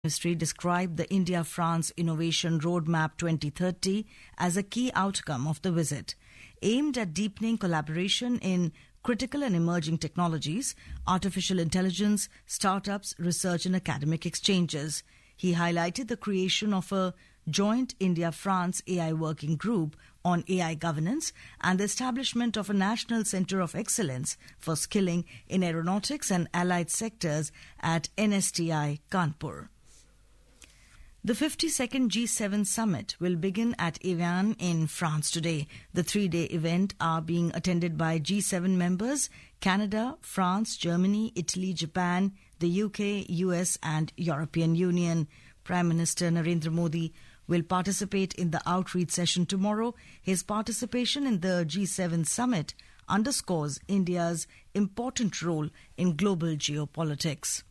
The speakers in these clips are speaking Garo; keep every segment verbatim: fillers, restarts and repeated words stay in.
Ministry described the India-France Innovation Roadmap twenty thirty as a key outcome of the visit, aimed at deepening collaboration in critical and emerging technologies, artificial intelligence, startups, research and academic exchanges. He highlighted the creation of a joint India-France A I working group on A I governance and the establishment of a National Centre of Excellence for Skilling in Aeronautics and Allied Sectors at N S T I Kanpur. The fifty-second G seven summit will begin at Evian in France today. The three-day event are being attended by G seven members, Canada, France, Germany, Italy, Japan, the U K, U S and European Union. Prime Minister Narendra Modi will participate in the outreach session tomorrow. His participation in the G seven summit underscores India's important role in global geopolitics.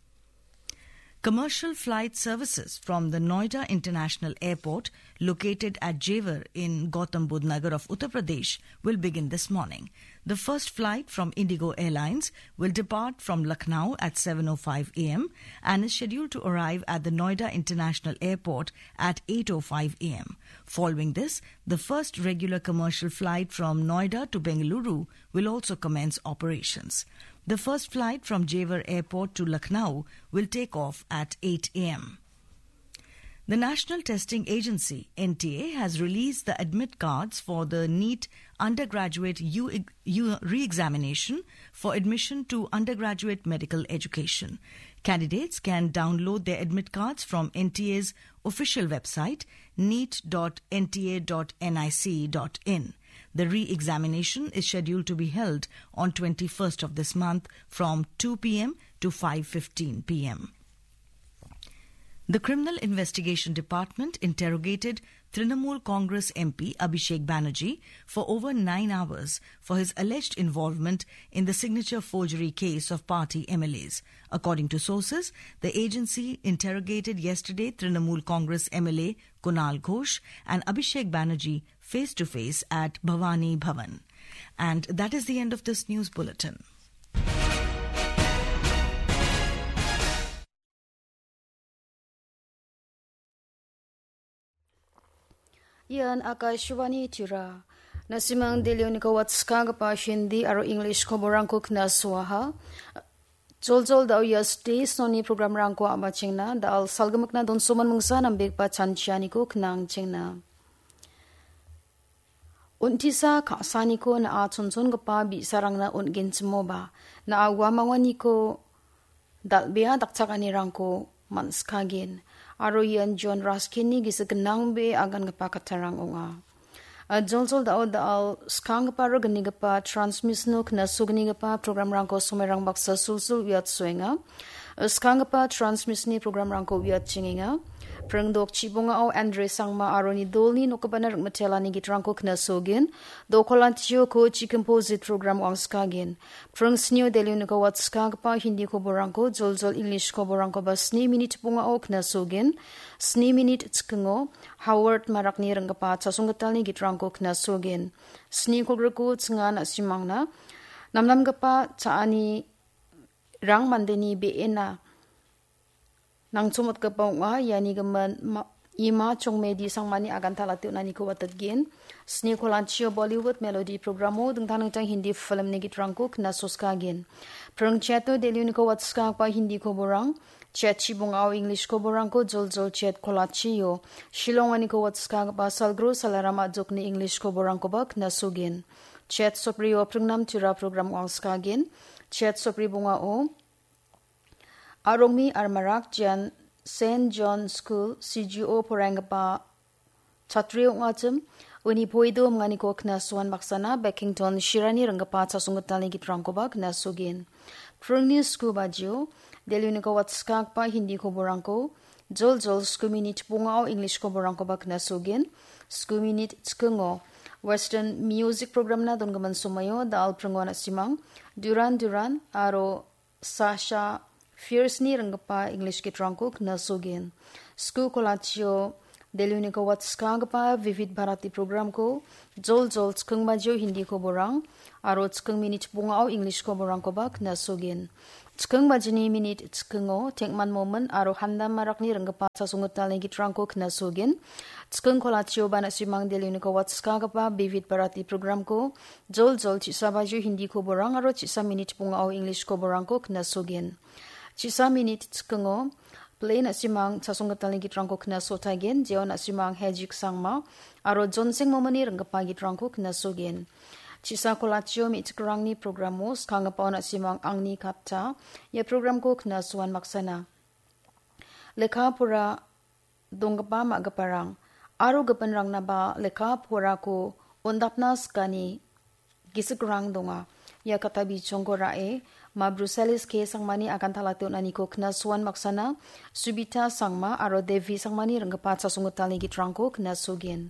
Commercial flight services from the Noida International Airport, located at Jewar in Gautam Budh Nagar of Uttar Pradesh, will begin this morning. The first flight from IndiGo Airlines will depart from Lucknow at seven oh five a m and is scheduled to arrive at the Noida International Airport at eight oh five a m. Following this, the first regular commercial flight from Noida to Bengaluru will also commence operations. The first flight from Jewar Airport to Lucknow will take off at eight a m. The National Testing Agency, N T A, has released the admit cards for the NEET undergraduate U-, U-, re-examination for admission to undergraduate medical education. Candidates can download their admit cards from N T A's official website, neet dot N T A dot N I C dot in. The re-examination is scheduled to be held on twenty-first of this month from two p m to five fifteen p m. The Criminal Investigation Department interrogated Trinamool Congress M P Abhishek Banerjee for over nine hours for his alleged involvement in the signature forgery case of party M L As. According to sources, the agency interrogated yesterday Trinamool Congress M L A Kunal Ghosh and Abhishek Banerjee face to face at Bhavani Bhavan. And that is the end of this news bulletin. Ian Akashvani Tirupur. Na·simang Delhi-oniko watskagipa Hindi aro English koborangko knasuaha. Joljol da·o ia stage-oni programrangko a·machengna, da·al salgimikna donsoman mingsa nambegipa chanchianiko knangchengna. Untisa ka·saniko na·a chonchongipa bi·sarangna on·genchimoba, na·a uamanganiko dal·bea dakchakanirangko man·sikagen, aro ian John Ruskinni gisik gnangbe agangipa kattarang ong·a. A, joljol da·o da·al skanggipa aro gnigipa transmission-o knasognigipa programrangko somairang baksa sulsul uiatsoenga. Skanggipa transmission-ni programrangko uiatchengenga. Pringdok chibongao Andre Sangma aro nidolni nokgipana ring·mitelani gitrangko knasogin. Dokolantio ko chikimpo zit program wangskagen. Pring snio Delhi-oniko watskagipa Hindi koborangko, joljol English koborangkoba sni minit bongao knasogin. Sni minit chikingo Howard Marakni ringgipa chasonggitalni gitrangko knasogin. Sni kolgriko chinga na·simangna namnamgipa cha·ani rang mandeni be·ena nangchomotgipa ong·a. Iani gimin ma-, ima chongmedi sangmani aganta late on·aniko watatgen. Sni kolantio Bollywood melody programo dingtang dingtang Hindi filmni gitrangko knasoskagen. Pring cheto Delhi-oniko watskagipa Hindi koborang, chet chibongao English koborangko joljol chet kolachio, Shillong-oniko watskagipa Salgro Salaram Ajokni English koborangkoba knasogen. Chet soprio pringnam tira program wangskagen. Chet sopri bongao Arongmi Armarak Jan Saint John School, C G O poraienggipa chatri ong·achim, uni poido minganiko knasoan baksana Beckington Shirani ringgipa chasonggitalni gitrangkoba knasogen. Pringni sku bajio, Delhi-oniko watskagipa Hindi koborangko, joljol sku minit bongao English koborangkoba knasogen. Sku minit chikingo Western music programna dongimin somoio da·al pringo na·simang Duran Duran aro Sasha Fierceni ringgipa English gitrangko knasogen. Sku kolachio Delhi-oniko watskagipa Vivid Bharati programko joljol chiking bajio Hindi koborang aro chiking minit bongao English koborangkoba knasogen. Chiking bajini minit chikingo Tengman Momin aro Handam Marakni ringgipa chasonggitalni gitrangko knasogin. Chiking kolachioba na·simang Delhi-oniko watskagipa Vivid Bharati programko joljol chisa bajio Hindi koborang aro chisa minit bongao English koborangko knasogin. Chisa minit chikingo play na·simang chasonggitalni gitrangko knasotagen, jeo na·simang Hejik Sangma aro Jonseng Momini ringgipa gitrangko knasogen. Chisa kolachio me·chikrangni programo skanggipa na·simang Angni Katta, ia programko knasoan maksana. Lekka pora donggipa ma·giparang aro gipinrangnaba lekka porako ondapna sikani gisikrang donga. Ia katta bichongko ra·e, ma Bruselis K Sangmani agantalate on·aniko knasoan maksana, Subita Sangma aro Devi Sangmani ringgipa chasonggitalni gitrangko knasogen.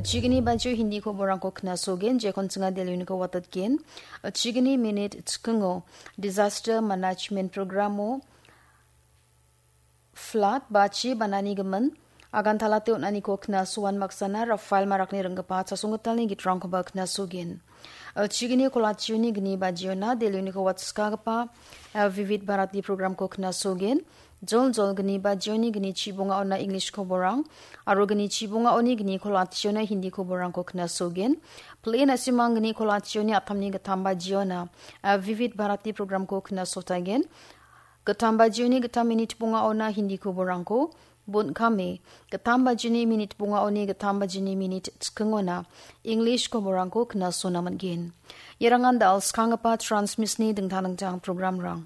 Chigni bajio Hindi koborangko knasogen, jekon chinga Delhi-oniko watatgen. Chigni minit chikingo Disaster Management Programo flood ba chi banani gimin agantalate on·aniko knasoan maksana Rafael Marakni ringgipa chasonggitalni gitrangkoba knasogen. Chigni kolachioni gni bajiona Delhi-oniko watskagipa, eh, Vivid Bharati programko knasogen. Joljol gni bajioni gni chibongaona English koborang aro gni chibongaoni gni kolachiona Hindi koborangko knasogen. Play na·simang gni kolachioni atamni gittam bajiona, eh, Vivid Bharati programko knasotagen. Gittam bajioni gittam minit bongaona Hindi koborangko, bon·kame gittam bajini minit bongaoni gittam bajini minit chikingona English koborangko knasona man·gen. Ierangan da·al skanggipa transmisni dingtang dingtang programrang.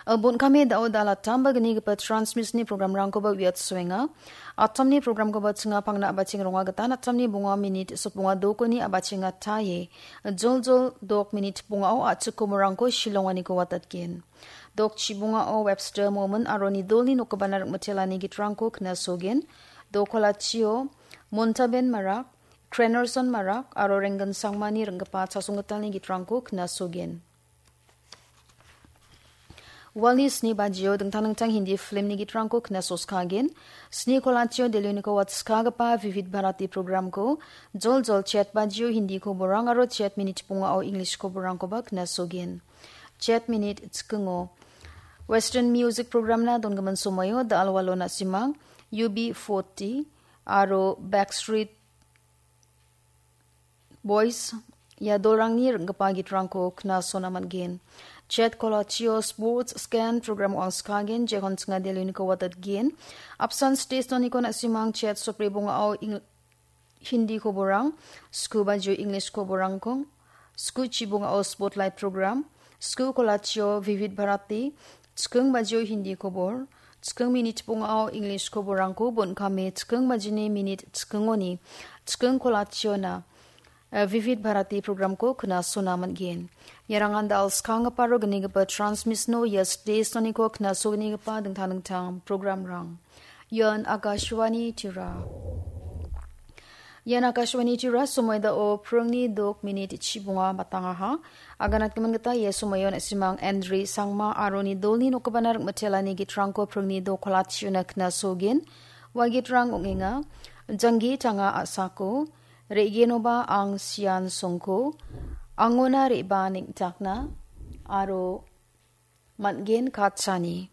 Bon·kame da·o da·al attam ba gnigipa transmisni programrangkoba uiatsoenga. Attamni programkoba chinga pangna a·bacheng ronga gitan attamni bonga minit sotbonga dokoni a·bachenga taie. Joljol dok minit bongao a·chik koborangko shilonganiko watatgen. Dok chibongao Webster Momin aro nidolni nokgipana ringmitelani gitrangko knasogen. Dok kolachio Montaben Marak, Krenerson Marak aro Renggen Sangmani ringgipa chasonggitalni gitrangko knasogen. Walni sni bajio dingtang dingtang Hindi filmni gitrangko knasoskagen. Sni kolachio Delhi-oniko watskagipa Vivid Bharati programko joljol chet bajio Hindi koborang aro chet minit bongao English koborangkoba knasogen. Chet minit chikingo Western Music programna dongimin somoio da·al walo na·simang U B forty aro Backstreet Boys ia dolrangni ringgipa gitrangko knasona man·gen. Chet kolachio Sports Scan program ong·angskagen, jekon chinga Delhi-oniko watatgen. Apsan stage-oniko na·simang chet sopri bongao Eng-, Hindi koborang, sku bajio English koborangko, sku chibongao Spotlight program, sku kolachio Vivid Bharati, chiking bajio Hindi kobor, chiking minit bongao English koborangko bon·kame chiking bajini minit chikingoni chiking kolachiona, eh, Vivid Bharati programko knasona man·gen. Ierangan da·al skanggipa aro gnigipa transmisno ia stage-oniko knasognigipa dingtang dingtang programrang. Ian Akashvani Tirupur. Ian Akashvani Tirupur, somoi da·o pringni dok minit chibonga batangaha. Aganatgimin gita ia somoio na·simang Andri Sangma aro nidolni nokgipana ringmitelani gitrangko pringni dok kolachiona knasogin. Ua gitrang ong·enga, Janggi Tanga A·sako, Re·genoba Ang Sian Songko, Angona Re·baa Neng·takna, aro Man·gen Katchani.